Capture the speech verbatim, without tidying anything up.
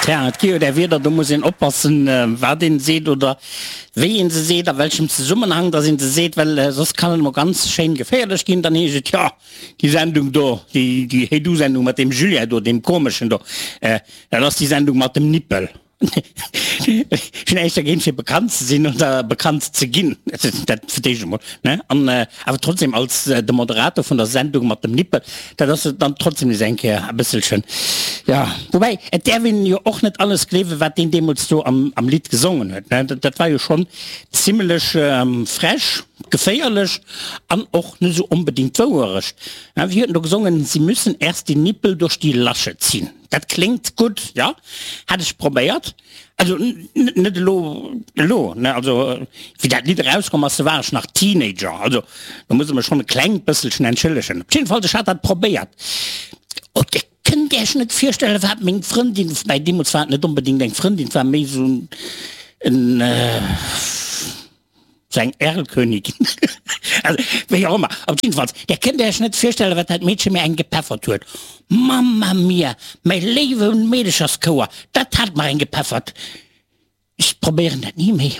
Tja, et gi jo där Wierder, do muss een oppassen, wat een seet oder wéi een se seet, a welchem Zesummenhang dass een se seet, well soss kann et emol ganz schéin geféierlech ginn. Dann heescht et, jo, déi Sendung do, déi, déi Hey Du-Sendung mat deem Julien do, deem komeschen do, dat ass déi Sendung mat dem Nippel. Ech hunn näischt dergéint fir bekannt ze sinn oder bekannt ze ginn, dat fir d'éischt emol, ne, an awer trotzdem als de Moderator vun der Sendung mat dem Nippel, dat ass dann trotzdem nees eng Kéier e bësselchen, jo. Woubäi, et däerf een jo och net alles gleewen, wat deen deemools do am am Lidd gesongen huet, ne, dat war jo schonn zimlech frech, geféierlech an och net esou onbedéngt d'Wouerecht. Wéi huet en do gesongen, Sie müssen erst die Nippel durch die Lasche ziehen. Dat kléngt gutt, jo, hat ech probéiert, also net elo, elo, ne, also wéi dat Lidd erauskomm ass, do war ech nach Teenager, also do muss e mech schonn e klengt bësselchen entschëllegen. Op jidde Fall, ech hat dat probéiert. Oh, Dir kënnt Iech net virstellen, wat meng Frëndin, woubäi deemools war et net onbedéngt eng Frëndin, et war méi esou en, Sou eng Erlkönigin, also wéi och ëmmer, op jiddefalls, där kënnt Iech net virstellen, wat dat Meedche mir eng gepeffert huet. Mamma mia, mäi léiwe Meedecherschouer, dat hat mer eng gepeffert. Ech probéieren dat ni méi.